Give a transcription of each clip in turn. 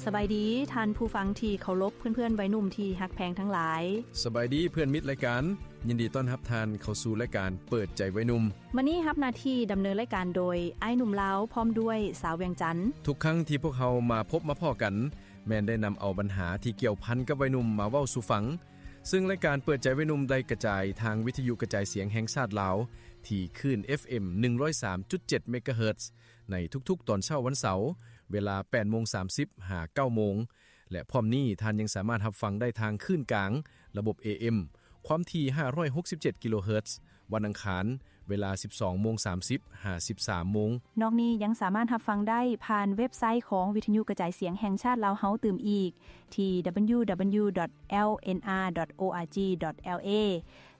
ສະບາຍດີທ່ານຜູ້ຟັງທີ່ເຄົາລົບ, ເພື່ອນໆໄວໜຸ່ມທີ່ຮັກແພງທັງຫຼາຍ. ສະບາຍດີເພື່ອນມິດລາຍການ, ຍິນດີຕ້ອນຮັບທ່ານເຂົ້າສູ່ລາຍການເປີດໃຈໄວໜຸ່ມ. ມື້ນີ້ຮັບໜ້າທີ່ດຳເນີນລາຍການໂດຍອ້າຍໜຸ່ມລາວ ພ້ອມດ້ວຍສາວວຽງຈັນ. ທຸກຄັ້ງທີ່ພວກເຮົາມາພົບມາພໍ້ກັນ, ແມ່ນໄດ້ນຳເອົາບັນຫາທີ່ກ່ຽວພັນກັບໄວໜຸ່ມມາເວົ້າສູ່ຟັງ. ຊຶ່ງລາຍການເປີດໃຈໄວໜຸ່ມໄດ້ກະຈາຍທາງວິທະຍຸກະຈາຍສຽງແຫ່ງຊາດລາວ ທີ່ຄື້ນ ເອັຟເອັມ ໜຶ່ງຮ້ອຍສາມຈຸດເຈັດ ເມກາເຮີດ ໃນທຸກໆຕອນເຊົ້າວັນເສົາ ເວລາ ແປດໂມງສາມສິບ ຫາ ເກົ້າໂມງ ແລະ ພ້ອມນີ້ທ່ານຍັງສາມາດຮັບຟັງໄດ້ທາງຄື້ນກາງ ລະບົບ ເອເອັມ ຄວາມຖີ່ ຫ້າຮ້ອຍຫົກສິບເຈັດ ກິໂລເຮີດ ວັນອັງຄານ ເວລາ ສິບສອງໂມງສາມສິບ ຫາ ສິບສາມໂມງ. ນອກນີ້ຍັງສາມາດຮັບຟັງໄດ້ຜ່ານເວັບໄຊຂອງວິທະຍຸກະຈາຍສຽງແຫ່ງຊາດລາວເຮົາຕື່ມອີກ ທີ່ www.lnr.org.lr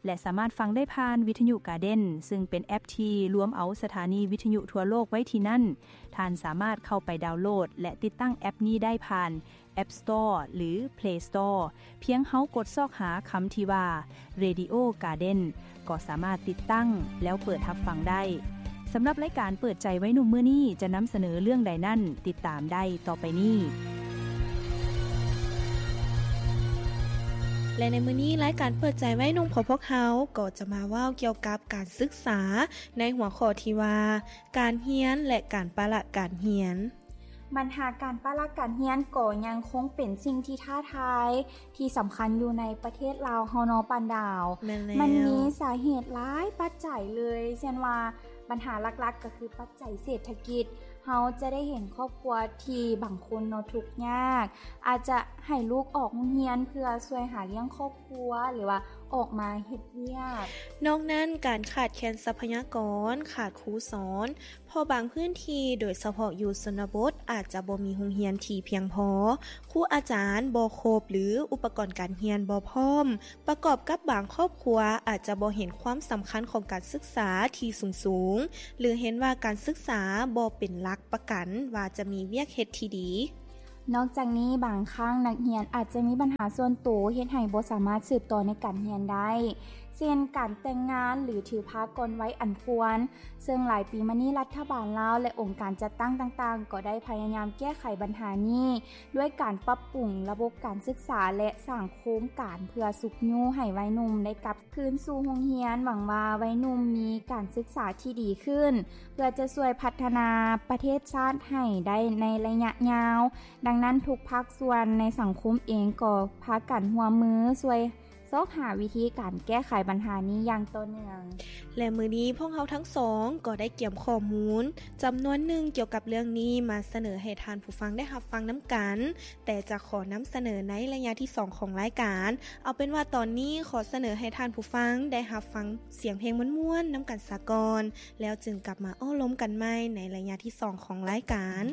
ແລະ ສາມາດຟັງໄດ້ຜ່ານວິທະຍຸກາເດັນ ຊຶ່ງເປັນແອັບທີ່ລວມເອົາສະຖານີວິທະຍຸທົ່ວໂລກໄວ້ທີ່ນັ້ນ. ທ່ານສາມາດເຂົ້າໄປດາວໂຫຼດ ແລະ ຕິດຕັ້ງແອັບນີ້ໄດ້ຜ່ານ App Store ຫຼື Play Store ພຽງເຮົາກົດຊອກຫາຄຳທີ່ວ່າ Radio Garden ກໍສາມາດຕິດຕັ້ງແລ້ວເປີດຮັບຟັງໄດ້. ສຳລັບລາຍການເປີດໃຈໄວໜຸ່ມມື້ນີ້ຈະນຳສະເໜີເລື່ອງໃດນັ້ນ ຕິດຕາມໄດ້ຕໍ່ໄປນີ້. ແລະ ໃນມື້ນີ້ລາຍການເປີດໃຈໄວໜຸ່ມຂອງພວກເຮົາກໍຈະມາເວົ້າກ່ຽວກັບການສຶກສາ ໃນຫົວຂໍ້ທີ່ວ່າ ການຮຽນ ແລະ ການປະລະການຮຽນ. ບັນຫາການປະລະການຮຽນກໍຍັງຄົງເປັນສິ່ງທີ່ທ້າທາຍທີ່ສຳຄັນຢູ່ໃນປະເທດລາວເຮົາເນາະ ປານດາວ. ແມ່ນແລ້ວ. ມັນມີສາເຫດຫຼາຍປັດໄຈເລີຍ ເຊັ່ນວ່າ ບັນຫາຫຼັກໆກໍຄືປັດໄຈເສດຖະກິດ. ເຮົາຈະໄດ້ເຫັນຄອບຄົວທີ່ບາງຄົນເນາະທຸກຍາກ ອາດຈະໃຫ້ລູກອອກໂຮງຮຽນເພື່ອຊ່ວຍຫາລ້ຽງຄອບຄົວ ຫຼືວ່າອອກມາເຮັດວຽກ. ນອກນັ້ນ ການຂາດແຄນຊັບພະຍາກອນ, ຂາດຄູສອນ ເພາະບາງພື້ນທີ່ ໂດຍສະເພາະຢູ່ຊົນນະບົດ ອາດຈະບໍ່ມີໂຮງຮຽນທີ່ພຽງພໍ, ຄູອາຈານບໍ່ຄົບ ຫຼື ອຸປະກອນການຮຽນບໍ່ພ້ອມ, ປະກອບກັບບາງຄອບຄົວອາດຈະບໍ່ເຫັນຄວາມສຳຄັນຂອງການສຶກສາທີ່ສູງໆ ຫຼື ເຫັນວ່າການສຶກສາບໍ່ເປັນຫຼັກປະກັນວ່າຈະມີວຽກເຮັດທີ່ດີ. ນອກຈາກນີ້ ບາງຄັ້ງນັກຮຽນອາດຈະມີບັນຫາສ່ວນໂຕ ເຮັດໃຫ້ບໍ່ສາມາດສືບຕໍ່ໃນການຮຽນໄດ້ ເຊັ່ນ ການແຕ່ງງານ ຫຼື ຖືພາກ່ອນໄວອັນຄວນ. ເຊິ່ງຫຼາຍປີມານີ້ ລັດຖະບານລາວ ແລະ ອົງການຈັດຕັ້ງຕ່າງໆ ກໍໄດ້ພະຍາຍາມແກ້ໄຂບັນຫານີ້ ດ້ວຍການປັບປຸງລະບົບການສຶກສາ ແລະ ສ້າງໂຄງການເພື່ອຊຸກຍູ້ໃຫ້ໄວໜຸ່ມໄດ້ກັບຄືນສູ່ໂຮງຮຽນ. ຫວັງວ່າໄວໜຸ່ມມີການສຶກສາທີ່ດີຂຶ້ນ ເພື່ອຈະຊ່ວຍພັດທະນາປະເທດຊາດໃຫ້ໄດ້ໃນໄລຍະຍາວ. ດັ່ງນັ້ນ ທຸກພາກສ່ວນໃນສັງຄົມເອງກໍພາກັນຮ່ວມມືຊ່ວຍຊອກຫາວິທີການແກ້ໄຂບັນຫານີ້ຢ່າງຕໍ່ເນື່ອງ. ແລະ ມື້ນີ້ພວກເຮົາທັງສອງກໍໄດ້ກຽມຂໍ້ມູນຈຳນວນໜຶ່ງກ່ຽວກັບເລື່ອງນີ້ມາສະເໜີໃຫ້ທ່ານຜູ້ຟັງໄດ້ຮັບຟັງນຳກັນ, ແຕ່ຈະຂໍນຳສະເໜີໃນໄລຍະທີສອງຂອງລາຍການ. ເອົາເປັນວ່າຕອນນີ້ຂໍສະເໜີໃຫ້ທ່ານຜູ້ຟັງໄດ້ຮັບຟັງສຽງເພງມ່ວນໆນຳກັນສາກ່ອນ, ແລ້ວຈຶ່ງກັບມາໂອ້ລົມກັນໃໝ່ໃນໄລຍະທີສອງຂອງລາຍການ.